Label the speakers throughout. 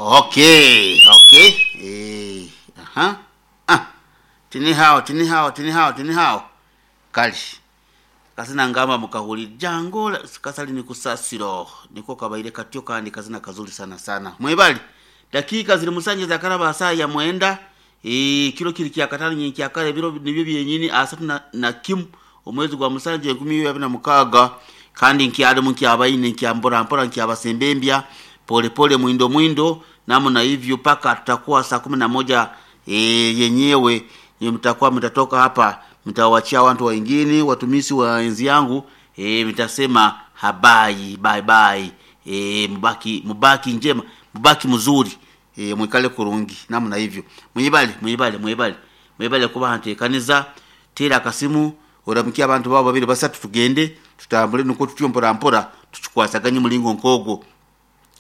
Speaker 1: Okay, okay. Eh, aha. Ah. Tini hao, tini hao, tini hao, tini hao. Kali. Kazina ngamba mukahuli jango kasali ni kusasiro niko kabaire katyo kandi kazina kazuri sana sana. Mwebali. Dakika ziri musanje za karaba saa ya mwenda e, kilo kiri kya katano nyingi kya kale biro nibyo byenyini asatu na, na kimu omwezi gwa musanje 2026 kandi nkyalimu nkyabaine nkyambora mpora nkyabasembembya pole pole mwindo mwindo namna hivyo mpaka tutakuwa saa 11 e, yenyewe mtakuwa mtatoka hapa mtawachia watu wengine watumisi wa enzi yangu e, mtasema habai bye bye e, mubaki mubaki njema mubaki mzuri e, mwikale kurungi namna hivyo mwibale mwibale mwibale mwibale kuba hantekaniza tera akasimu oramukia abantu babo babiri basatu tugende tutambule nuko tutyo mpora mpora tuchikwasaganye mulingo nkogo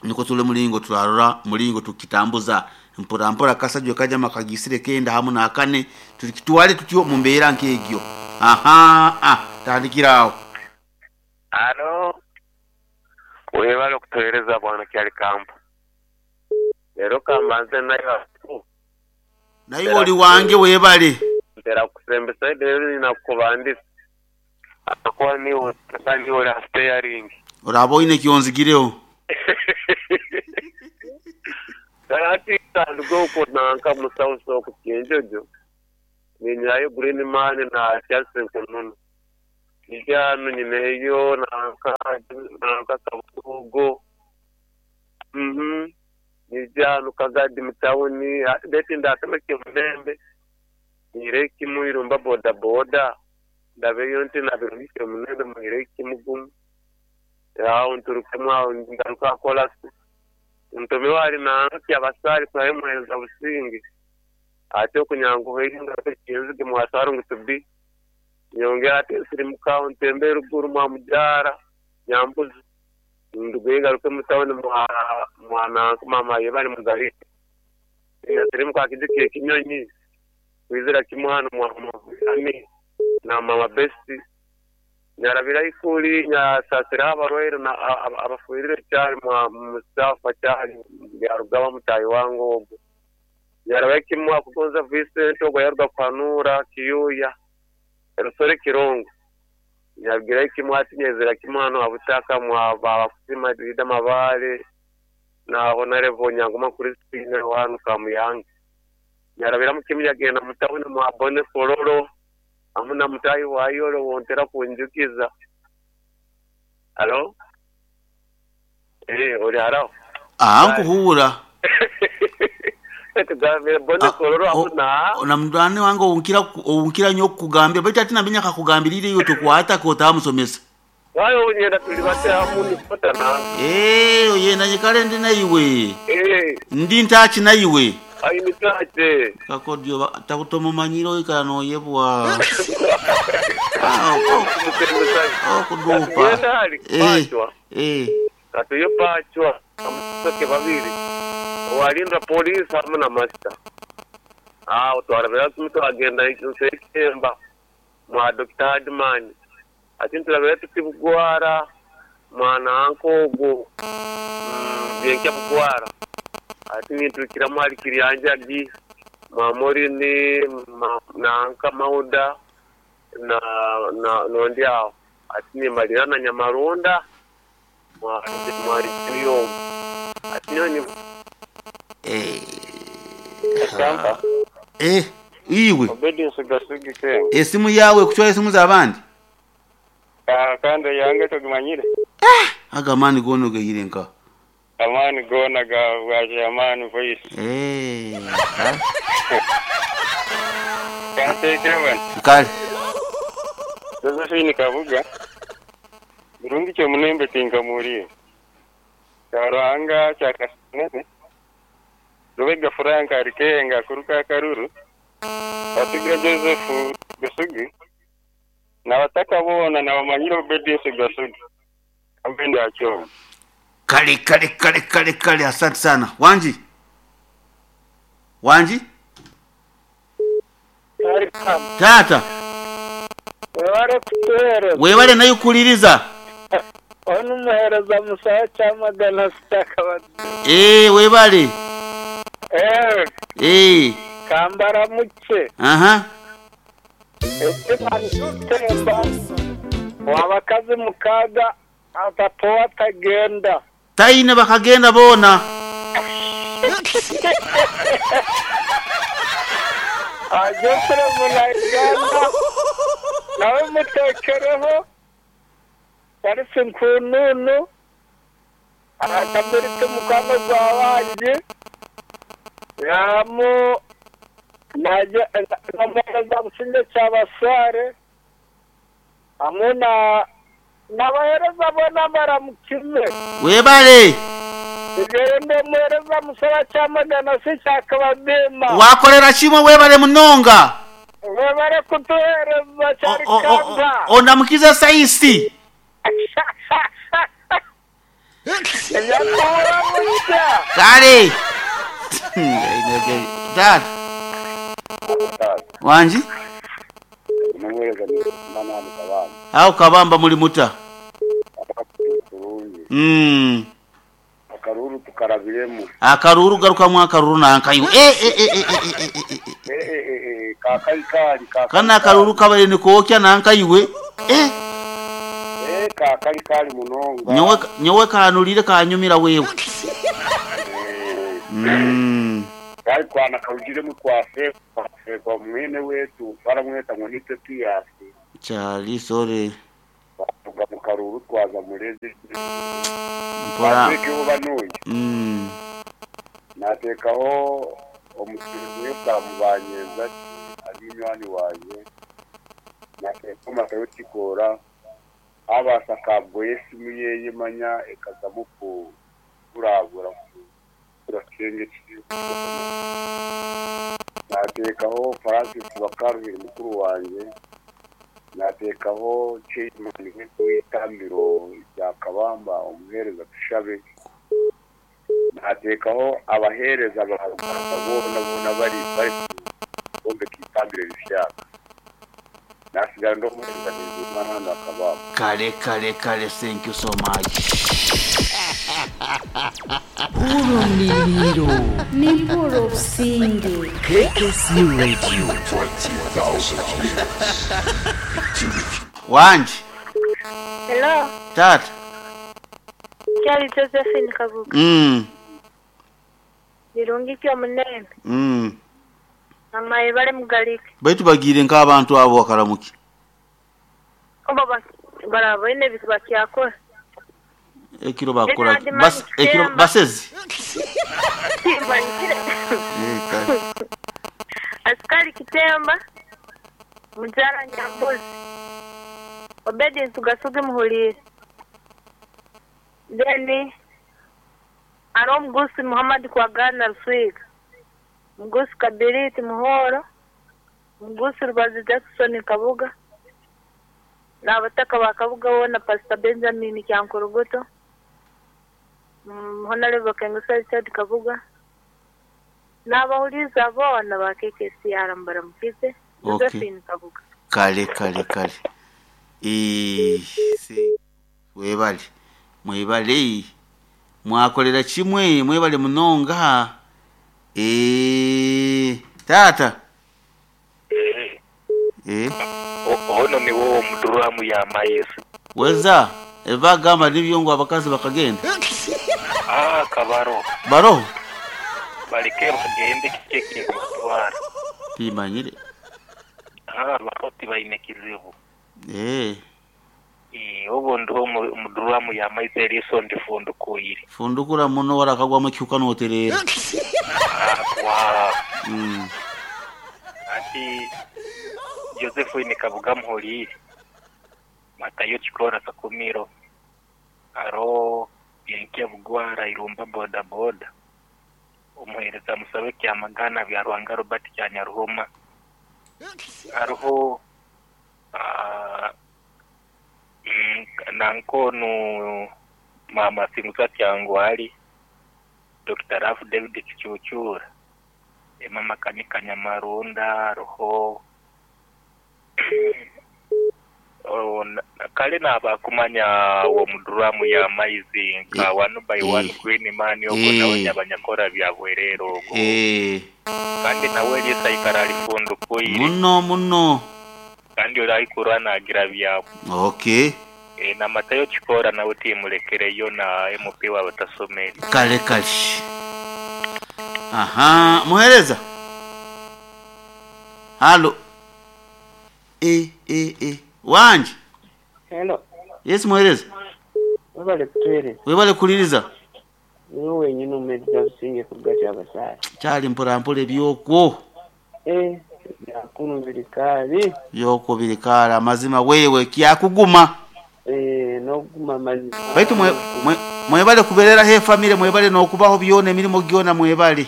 Speaker 1: niko tule mulingo turarora mulingo tukitambuza mpora mpora kasajwe kaja makagisire kenda hamu na akane tukitwale tutyo mumbeera nkegyo aha ah tandikirawo
Speaker 2: Alo, webale okutuweereza bwana Kyalikambo. Leero kambanze nayo
Speaker 1: naye oli wange webale
Speaker 2: ntera kusembesa leero ninakubandisa akuba niwe niwe ori ha steering
Speaker 1: oraba oine kyonzigireho
Speaker 2: ati tandika okwo nanka musausa oku Kyenjojo ninyirayo Green Man na Charles Nkununu ija hanu nyineyo nanka nanka Kabugo nija hanu Kagadi mu tawuni beti ndatemeke Mulembe nyire kimu irumba boda boda ndabeyo nti nabirungike Mulembe muhire kimugumu aho nturukemu aho ngaruka kolasi ntume wali nanka abasari kurayo muhereza businge ate okunyanguha ngaruka kinzige mwasaro ngu tubi nyongera ate nsirimuka aho ntembe ruguru mwa mujara nyambuzi nduguye ngaruke mutawuni mwa mwananka mama yebali mugarika nsirimuka akijikiye kinyonyi kwizira kimwe hano mwa mami na mama besti nyarabira ikuli nyasasira abarwaire na abafuirire cyari mwa Mustafa cyari yarugaba mutayi wangu ogwo nyarabira kimwe akugonza Vincent ogwo yaruga kwanura kiyuya rusore kirongo nyabwira kimwe ati nyezera kimwe hano abutaka mwa babakusima dida mabale na honorable nyangoma kuri sine wanu kamuyange nyarabira mukimya yagenda mutawuni mwa bone fororo amuna mutayi wayolo wontera kunjukiza alo ori haraho
Speaker 1: ah nkuhura
Speaker 2: tugambire bone fororo amuna
Speaker 1: na mndani wange onkira onkira nyo kugambira baitu ati naminya kakugambirire iyo tokwata kotamusomesa
Speaker 2: wayo unyenda tuli bate hamuni kutana
Speaker 1: eh oyenda nyikale ndi naiwe ndi ntachi naiwe
Speaker 2: ayimitache
Speaker 1: kakodio takutomumanyira ikala noyebwa okudupa
Speaker 2: Genda hali pachwa katuyo pachwa amusoke babiri walinda polisi hamwe na masita awo twarabira kimwe twagenda nsekemba mwa Dr. Hadman ati nturabira tuti bugwara mwana ankogo byenkya bugwara ati ninturukiramu hari kiryanjagi mwa morini nanka mauda na na nondi aho ati nimalira na nyamarunda mwariyo ati nyoni
Speaker 1: iwe
Speaker 3: Obedience Gasugi King.
Speaker 1: esimu yawe kuchwa esimu z'abandi
Speaker 3: Kandi yange togimanyire.
Speaker 1: agamani gono geyire nka
Speaker 3: Amani gona ga bwaje amani voice. Kantekere
Speaker 1: kale
Speaker 3: Josephine Kabuga. Birungi kyo munembe tinkamuriye. Karuhanga kya Kasinene. Rubega Frank Arikenga kuruka Karuru. Batugira Joseph Gasugi. Nabataka bona nabamanyire Obedience Gasugi. Ambendi acho.
Speaker 1: kale kale kale kale kale asante sana wanji wanji tata
Speaker 4: webale kutuhereza
Speaker 1: webale nayo kuliriza
Speaker 4: onu muhereza musaha kyamagana sitaka
Speaker 1: webale
Speaker 4: Eh,
Speaker 1: Eh,
Speaker 4: kambaramukye.
Speaker 1: aha.
Speaker 4: Ekiba nikitemba. Wabakazi mukaga atatoa atagenda.
Speaker 1: Taine bakagenda boona.
Speaker 4: Geoffrey Munauganda nawe muteekereho, Charles Nkununu, Kabiriti mukwano gwa wangi, Ramu na Busingye Kyabasaare hamwe na n'abaheereza boona mbaramukire.
Speaker 1: Webale.
Speaker 4: Nyowe ndi omuheereza Musaba Kyamagana si Kyakabadiima.
Speaker 1: Wakorera kimwe webale munonga.
Speaker 4: Webare kutuheereza Kyarikamba.
Speaker 1: Ondamukize Saisi.
Speaker 4: Ebyakuhura busya.
Speaker 1: Kale. Tata. Wangi? Aho Kabamba muli muta? Mm.
Speaker 3: Akaruuru tukarabiremu.
Speaker 1: Akaruuru garukamu akaruuru nanka iwe. Eh eh eh eh eh eh eh eh.
Speaker 3: Eh eh eh eh kakarikari kakarikari.
Speaker 1: Kana akaruuru kabaire nikookya nanka iwe. Eh.
Speaker 3: Eh kakarikari munonga.
Speaker 1: Nyowe nyowe kanulire kanyumira wewe. Mm.
Speaker 3: Kari kwana karugiremu kwafe kwafe kwa mwene wetu baramweta ngo ni Pepiyasi.
Speaker 1: Kyali sorry.
Speaker 3: Tuga mu karuru twaza murezi.
Speaker 1: Mpora.
Speaker 3: Patrick Banuyi.
Speaker 1: Mm.
Speaker 3: Nateekaho omusirizi w'ekamubanyeza ari munywani wanje. Nateekaho Matayo Kikoora abaasa kabgoye esimu yeye manya ekazamu kurabura kurakenge kiri. Nateekaho Francis Bakaruhire mukuru wanje. Nateekaho Chairman w'itambiro rya Kabamba omuheereza Tushabe. Nateekaho abaheereza ba Ruganda boona boona bari bari kwombeka itambiro rishyaka. Nasigara ndi omuheereza Bizimana hano Kabamba.
Speaker 1: Kale kale kale thank you so much.
Speaker 5: Urumiliro.
Speaker 6: Nimpuro Businge.
Speaker 5: KKC Radio.
Speaker 1: Wangi.
Speaker 7: Hello,
Speaker 1: Tata.
Speaker 7: Kyali Josephine Kabuga. Birungi kyo munene. Amaye bale mugalike.
Speaker 1: Baitu bagiire nk'abantu abo bakaramuki.
Speaker 7: Oba baraboine bitu bakyakora.
Speaker 1: Ekiro bakora. Bas ekiro basezi. Eh kale.
Speaker 7: Askari Kitemba. Mujara Nyambuzi. Obedience Gasugi Muhulire. Then aro Mugusi Muhammad Kwagana Ruswiga. Mugusi Kabiriti Muhoro. Mugusi Rubazi Jackson Kabuga. N'abataka ba Kabuga bona Pastor Benjamin Kyankorogoto. Honorable Kengusa Richard Kabuga. N'abahuliza bona ba KKCR mbaramukize.
Speaker 1: Okay.
Speaker 7: Josephine Kabuga.
Speaker 1: Kale kale kale. Si webale. Mwebale. Mwakolera kimwe mwebale munonga. Tata.
Speaker 8: Ono ni wowe omuduramu ya mayezi.
Speaker 1: Weza ebagamba nibyo ngo abakazi bakagenda.
Speaker 8: Ah kabaro.
Speaker 1: Baro.
Speaker 8: Baleke bagende kike batwara.
Speaker 1: Bimanyire.
Speaker 8: Ah baroti baine kizibu. Obo ndo omuduramu ya mayezi eriso ndifundukuyire.
Speaker 1: Fundukura muno warakagwamu kyuka noterera.
Speaker 8: Ah wa. Ati Josephine Kabuga Muhulire. Matayo Chikora Sakumiro. Aro Yenkia Bugwara Irumba boda boda. Omuhereza Musabe Kyamagana bya Rwanga Robert Kyanyaruhoma. Aruho nankonu Mama Simusa Kyangwali Dr. Ralph David Kichuchura. Mama Kanika Nyamarunda aruho Oh, kale naaba kumanya omu duramu ya maizi nka one by one green man ogwo nawe nyaba nyakora bya bwerere ogwo. Kandi nawe eriiso aikara arifundukwire.
Speaker 1: Muno muno.
Speaker 8: Kandi ori aikurwa nagira byakwo.
Speaker 1: Okay.
Speaker 8: Na Matayo Kikoora nawe timulekereyo na MP w'abatasomere.
Speaker 1: Kale kale. Aha, muhereza. Halo. E, e, e. Wangi.
Speaker 4: Hello.
Speaker 1: Yes, muhereza.
Speaker 4: Webale kutuhereza.
Speaker 1: Webale kuliriza.
Speaker 4: Niwe wenyine omuhereza Businge kuruga Kyabasaale.
Speaker 1: Kyali mpora mpora ebyokwo.
Speaker 4: Eh, byakunu biri kaali.
Speaker 1: Byokwo biri kaali amazima wewe kyakuguma.
Speaker 4: Eh, n'okuguma amazima.
Speaker 1: Baitu mwe, mwe, mwebale kubereraho efamire mwebale n'okubaho byona emirimo gyona mwebale.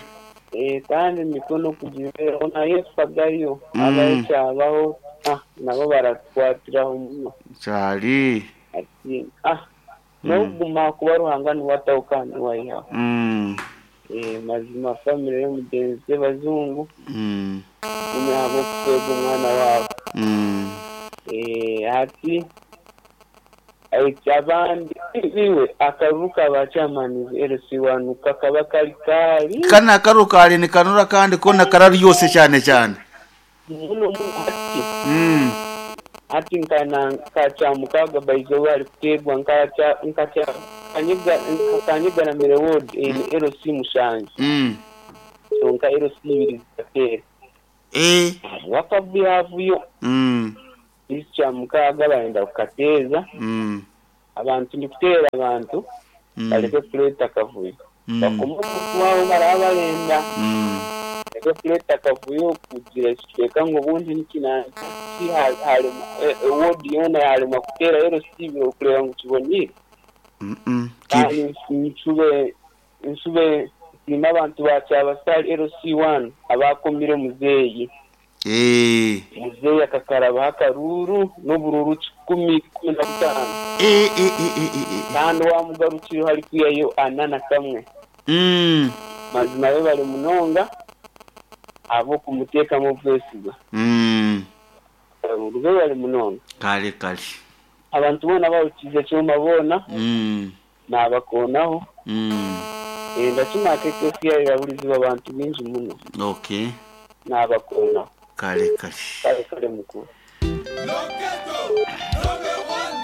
Speaker 4: Eh, kandi emikono kugibeeraho nayo efagayo habaho ekyabaho ah, nabo baratukwatiraho muno.
Speaker 1: Kyali.
Speaker 4: Ati ah, n'okuguma kuba Ruhanga niwe ataho kandi niwe aihaho. Eh, mazima famire y'omugyenzi Sebazungu gumya ahabw'okukwega omwana waabo. Eh, hati eki abandi iwe akaruru ka ba chairman LC1 kakaba kari kaari.
Speaker 1: Kanu akaruru kaari nikanura kandi koona kararyose kyane kyane.
Speaker 4: Muno muno hati. Hati nka na nka Kyamukaaga by izooba harikuteerwa nka kya nka kya Kanyegaramire ward eine LC mushanju kyonka LC ibiri zikateera. Hariho akavuyavuyo. Beitu Kyamukaaga barenda kukateeza. Abantu ndikuteera abantu bareke kureeta akavuyo. Bakome omuntu waabo baraba barenda. Bareke kureeta akavuyo kugira ekicweka ngu obundi nikinanka ki haremwa ward yoona yaremwa kuteera LC ibiri okureeba ngu kiboneire. Kandi nshube nshube nsiime abantu ba Kyabasale LC one abaakomire muzeeyi. Muzeeyi akakarabaho akaruuru n'oburuuru kikumi 15. Kandi owaamugarukireho arikwihayo ana na kamwe. Mazima webare munonga ahabw'okumuteekamu obwesigwa. Akaruuru webare munonga.
Speaker 1: Kare kare.
Speaker 4: Abantu boona abahurikiize ekyoma boona naabakoonaho. Ndakimanya KKC yahuriziibwe abantu baingi muno.
Speaker 1: Okay.
Speaker 4: Naabakoonaho.
Speaker 1: Kare kare.
Speaker 4: Kare kare mukuru.